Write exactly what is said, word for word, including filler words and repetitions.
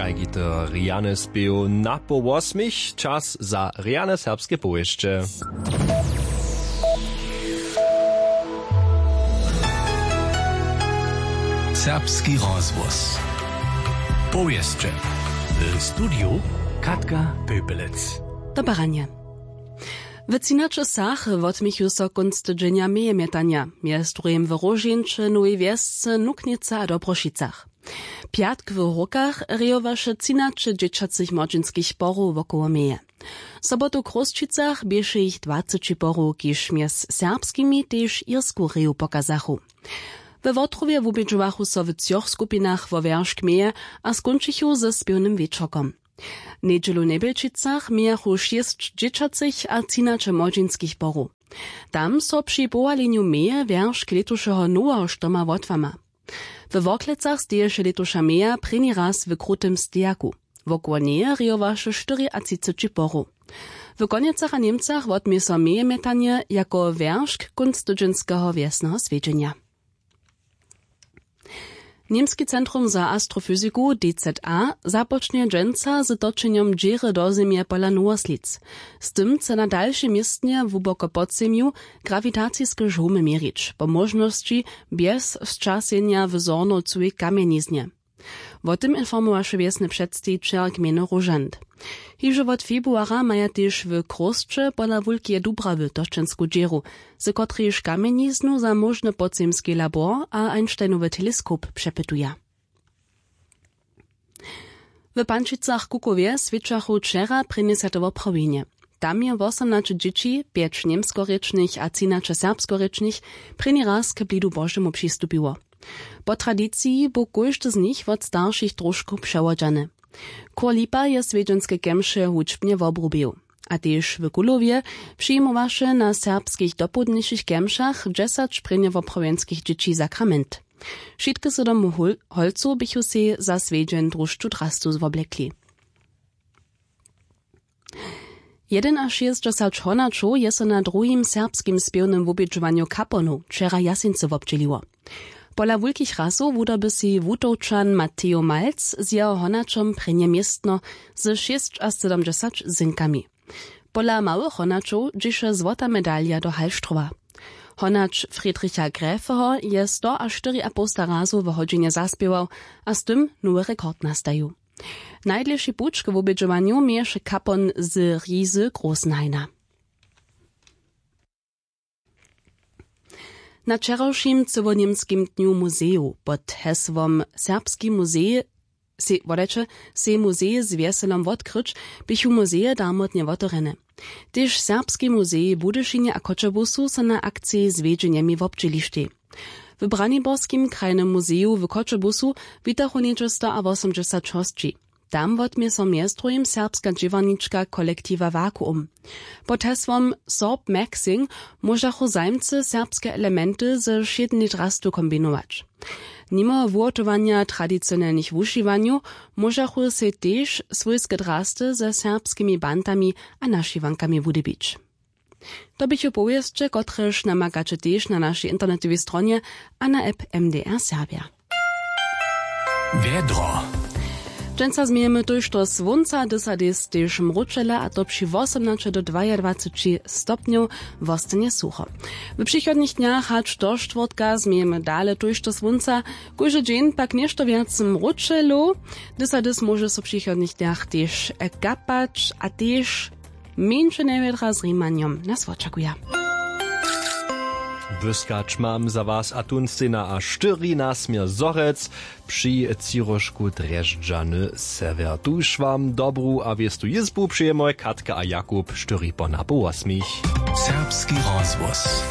Hajgity rjany spěw na poł wosmich, čas za rjane serbske powěsće. Serbski rozhłos. Powěsće. W studiju Katka Pöpelec. Dobaranje. W třinaće wsach wotměchu so kónc tydźenja meje mjetanja, mjez druhim w Róžeńće, Nowej Wjesce, Nuknicy a Dobrošicach. Pjatk w Hórkach rejowaše třinaće dźěćacych młodźinskich porow wokoło meje. Sobotu w Chrósćicach běše jich dwaceći porow, kiž mjez serbskimi tež irsku reju pokazachu. We Wotrowje wubědźowachu so w třoch skupinach wo wjeršk meje a skónčichu ze spěwnym wječorkom. Njedźelu w Njebjelčicach mějachu šěsć dźěćacych a třinaće młodźinskich porow. Tam so při powalenju meje wjeršk lětušeho noweho štoma wotłama. We Worklecach steješe lětuša meja prěni raz w krutym stejaku. Wokoło njeje rejowaše štyriatřiceći porow. W Konjecach a Němcach wotmě so meje mjetanje jako wjeršk kónc tydźenskeho wjesneho swjedźenja. Němski centrum za astrofyziku, D Z A, započnje dźensa z točenjom dźěry do Zemje pola Nowoslic. Z tym chce na dalšej městnje hłuboko pod zemju grawitaciske žołmy měrić, po móžnosći bjez sćasenja w Zhornowcowej kamjeniznje. Wo tym informowaše wjesny předstejićel gmejny Róžant. Hižo wot februara maja tež w Chrósće pola Wulkeje Dubrawy točensku dźěru, z kotrejž kamjeniznu za móžny podzemski labor a Einsteinowy teleskop přepytuja. W Pančicach-Kukowje swědčachu wčera prěnjesete woprawjenje. Tam je wosomnaće dźěći, pjeć němskorěčnych a třinaće serbskorěčnych, prěni raz k blidu Božemu přistupiło. Po tradiciji bu kóždy z nich wot staršich tróšku přewodźany. Chór Lipa je swjedźenske kemše hudźbnje wobrubił. A tež w Kulowje přijimowaše na serbskich dopołdnišich kemšach dźesać prěnje woprawjenskich dźěći sakrament. Wšitke z domu Hol-, Holcow běchu sej za swjedźeń drušću drastu woblekli. Jedynašěsćdźesać honaćow je so na druhim serbskim spěwnym wubědźowanju Kaponow wčera w Jaseńcy wobdźěliło. Pola wulkich rasow wudoby sej Wutowčan Mateo Malc z jeho honaćom prěnje městno ze šěsćasydomdźesać zynkami. Pola małych honaćow dźěše złota medalja do Hallstrowa. Honać Friedricha Gräfeho je stoaštyriapołsta razow w hodźinje zaspěwał a z tym nowy rekord nastajił. Najdlěši puć k wubědźowanju měješe Kapon z Rizy Großenhaina. Na wčerawšim cyłoněmskim dnju muzejow pod hesłom Serbski muzej, sej, wodajće, sej muzej z wjeselom wotkryć, běchu muzeje darmotnje wotewrjene. Tež Serbski muzej w Budyšinje a Choćebuzu so na akciji z wjedźenjemi wobdźělištej. W Braniborskim krajnym muzeju w Choćebuzu witachu něhdźe stoawosomdźesać hosći. Tam wotmě so mjez druhim serbska dźěłarnička kolektiwa Vakuum. Pod hesłom Sorb Maxing móžachu zajimcy serbske elementy ze wšědnej drastu kombinować. Nimo wuhotowanja tradicionelnych wušiwanjow móžachu sej tež swójske drasty ze serbskimi bantami a našiwankami wudyrbić. To běchu powěsće, kotrež namakaće tež na našej internetowej stronje a na app M D R Serbja. Wjedro. Dźensa změjemy tójšto słónca, dysadis tež mróčele, a to při wosomnaće do dwajadwaceći stopnjow, wostanje sucho. W přichodnych dnjach hač do štwórtka změjemy dale tójšto słónca, kóždy dźeń pak něšto wjac mróčelow, dysadis móže so w přichodnych dnjach tež kapać a tež mjeńše njewjedra z rimanjom nas wočakuja. Błyskać mam za was a tón stejna a štyri na směr Zhorjelc při třiróžku Drježdźany Sewjer. Tuž wam dobru a wěstu jězbu přejemoj Katka a Jakub, štyri po napoł wosmich. Serbski rozhłos.